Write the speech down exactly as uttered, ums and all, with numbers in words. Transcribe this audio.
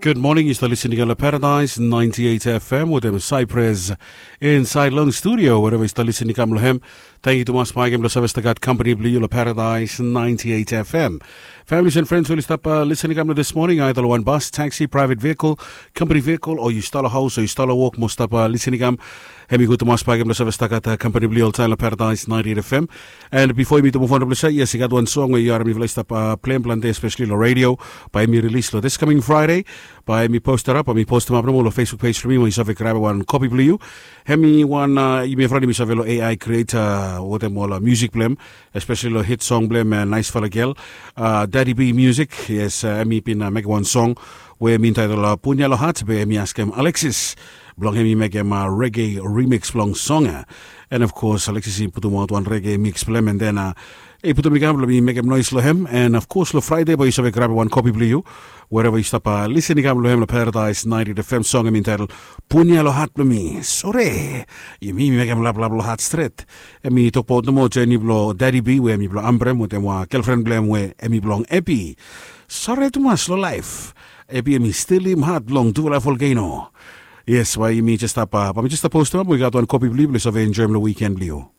Gud moning, yu stap lisin i kam long Paradise ninety eight F M wetem Cypress insaed long studio, wherever yu stap lisin i kam long hem. Tangkiu tumas blo yu save stap gat kampani blo yu long Paradise ninety eight F M. Families and friends we yu stap lisin i kam long this morning, either long wan bus, taxi, private vehicle, company vehicle, o yu stap long haus o yu stap long wok mo stap lisin i kam. Hem i gud tumas blo yu save stap gat kampani blo yu oltaem long Paradise ninety eight F M. And bifo yumi tu move on long ples ia, yes, i gat wan song we yu harim mifala i stap plem plante, especially long radio. Bae hemi rilis long this coming Friday. Bae hemi postarap, bae mi postemap nomo long Facebook page blo mi, mo yu save grabem wan kopi blo yu. Hemi wan, yumi evriwan yumi save long A I creator wetem ol musik blo hem, especially long hit song blo hem, Naesfala Gel. Daddy B Music, yes, hemi bin mekem wan song we hemi entaetel Punya Lo Hat, be hemi askem Alexis blong hemi mekem reggae remix blong song ia. And of course Alexis i putumaot wan reggae mix blo hem, and then i putum i kam blong mi mekem noes long hem. And of course long Fraede bae yu save grabem wan kopi blo yu, wherever yu stap lisin i kam long hem, long Paradise ninety eight F M. Song hemi entaetel Punya Lo Hat Blo Mi. Sore, yumi mekem laplap long hat stret. Hemi tokbaot nomo jeni blo Daddy B we hemi blo Ambrem wetem wan gelfren blo hem we hemi blong Epi. Sore tumas long laef, Epi hemi stilim hat blong tufala volcano. Yes, bae yumi jes stap, bae mi jes stap postemap, we i gat wan kopi blo yu blo yu save enjoem long wiken blo yu.